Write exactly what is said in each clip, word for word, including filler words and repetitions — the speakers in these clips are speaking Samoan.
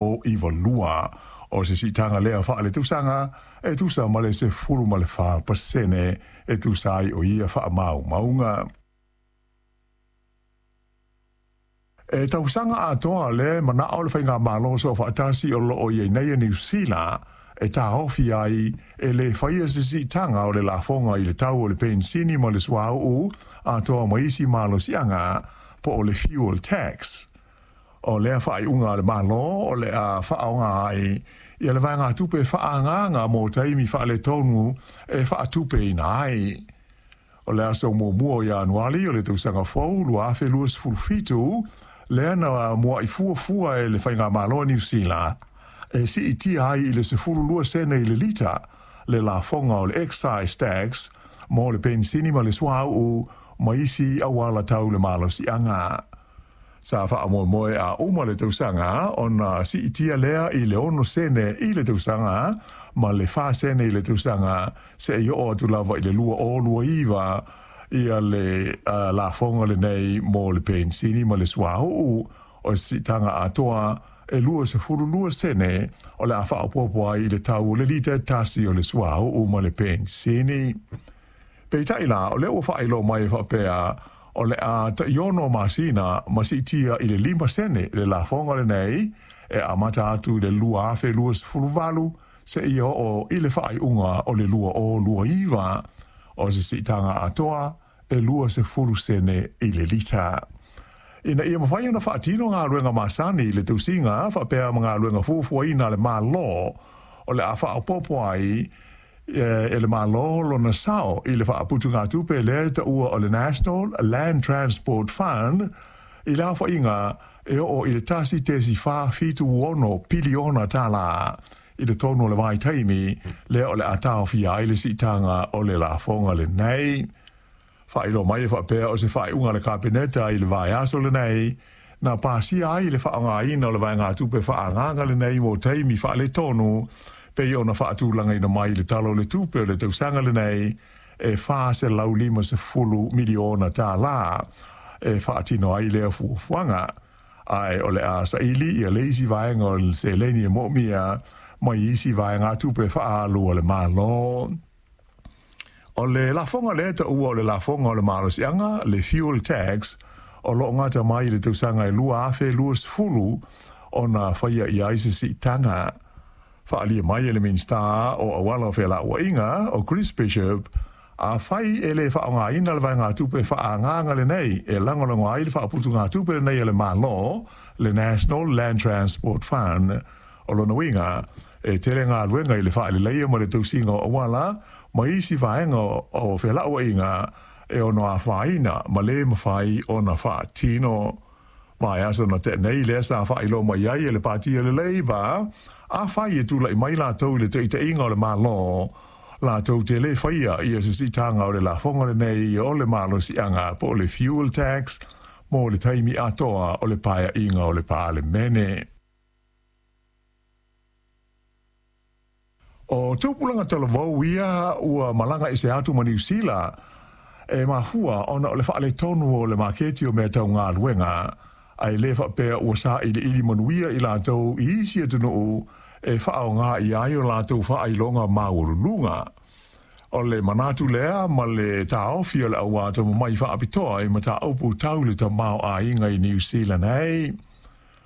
iva lua. O se siitaga lea faaletausaga e tusa ma le sefulu ma le fa pasene e tusa ai o ia faamaumauga. E tausaga atoa le manao o le faigamalo soofaatasi o loo i ai nei e Niu Sila e taofi ai e le faia se siitaga o le lafoga i le tau o le penisini ma le suauu atoa ma isi malosiaga po o le fuel tax. O lea faaiuga a le Malo o le a faaaoga ai ia le vaegatupe faaagaaga mo taimi faaletonu e faatupeina ai. O le aso muamua o Ianuali o le tausaga fou lua afe luasefulu fitu, lea na mua'i fuafua e le faigamalo a Niu Sila e siitia ai i le sefulu lua sene i le lita le lafoga o le excise tax mo le penisini ma le suauu ma isi auala tau le malosiaga. Sa faamoemoe a uma le tausaga ona siitia lea i le ono sene i le tausaga ma le fa sene i le tausaga seia oo atu lava i le lua o lua iva ia le uh, lafoga lenei mo le penisini ma le suauu. O se siitaga atoa e lua sefulu lua sene o le a faaopoopo ai i le tau o le lita e tasi o le suauu ma le penisini. Peitai la, o lea ua faailoa mai e faapea o le a taiono masina ma siitia i le lima sene le lafoga lenei e amata atu i le lua afe luasefulu valu seia oo i le faaiuga o le lua o lua iva. O se siitaga atoa e lua sefulu sene i le lita. Ina ia mafai ona faatino galuega masani i le tausiga faapea ma galuega fuafuaina a le Malo, o le a faaopoopo ai e le Malo lona sao i le faaputugatupe lea e taua o le National Land Transport Fund i le aofaiga e oo i le tasi tesi fa fitu ono piliona tālā i le tonu o le vaitaimi lea o le a taofia ai le siitaga o le lafoga lenei. Faailoa mai e faapea o se faaiuga a le Kapeneta i le vaiaso lenei na pasia ai le faaaogaina o le vaegatupe faaagaaga lenei mo taimi faaletonu pei ona faatulagaina mai i le Tala o le Tupe o le tausaga lenei e fa selau lima sefulu miliona tālā e faatino ai lea fuafuaga. Ae o le a saili ia le isi vaega o le seleni e moomia mai isi vaegatupe faaalu a le Malo. O le lafoga lea taua o le lafoga o le malosiaga, le fuel tax, o loo gata mai i le tausaga e lua afe luasefulu ona faia i ai se siitaga. Faaalia mai e le Minisita o Auala o Felauaiga o Chris Bishop, afai e le faaaogaina le vaegatupe faaagaaga lenei e lagolago ai le faaputugatupe lenei a le Malo, le National Land Transport Fund. O lona uiga e tele galuega i le faaleleia ma le tausiga o auala ma isi vaega o felauaiga e ono afaina ma le mafai ona faatino. Vaiaso na tea nei lea sa faailoa mai ai e le Pati o le Labour, afai e tula'i mai latou i le taitaiga o le Malo, latou te le faia ia se siitaga o le lafoga lenei o le malosiaga po o le fuel tax mo le taimi atoa o le paeaiga o le Palemene. O tupulaga talavou ia ua malaga ese atu ma Niu Sila e mafua ona o le faaletonu o le maketi o mea tau galuega, ae le faapea ua sailiili manuia i latou i isi atunuu e faaaoga i ai o latou faailoga maualuluga. O le manatu lea ma le taofi o le au atamamai faapitoa i mataupu tau le tamaoaiga i Niu Sila nei.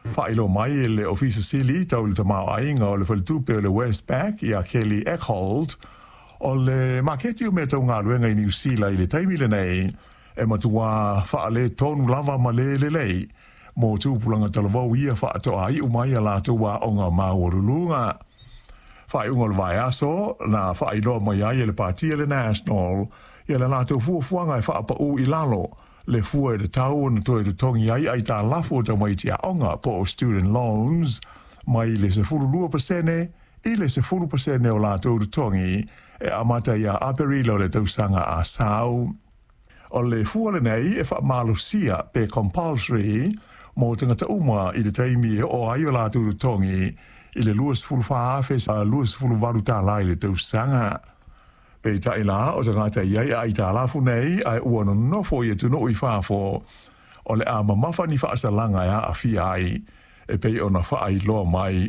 Faailoa mai e le Ofisa Sili tau le tamaoaiga o le faletupe o le Westpac ia Kelly Eckhold, o le maketi o mea tau galuega i Niu Sila i le taimi lenei e matuā faaletonu lava ma le lelei mo tupulaga talavou ia faatoa iu mai a latou aoga maualuluga. Faaiuga o le vaiaso na faailoa mai ai e le Pati a le National ia le latou fuafuaga e faapaū i lalo le fua e tatau ona toe totogi ai aitalafu o tamaiti aoga po o student loans mai le sefulu lua pasene i le sefulu pasene o latou totogi e amata ia Aperila o le tausaga a sau. O le fua lenei e faamalosia pe compulsory mo tagata uma i le taimi e oo ai o latou totogi i le luasefulu fa afe luasefulu valu tālā i le tausaga. Peitai la o tagata i ai aitalafu nei ae ua nonofo i atunuu i fafo o le a mamafa ni faasalaga e aafia ai e pei ona faailoa mai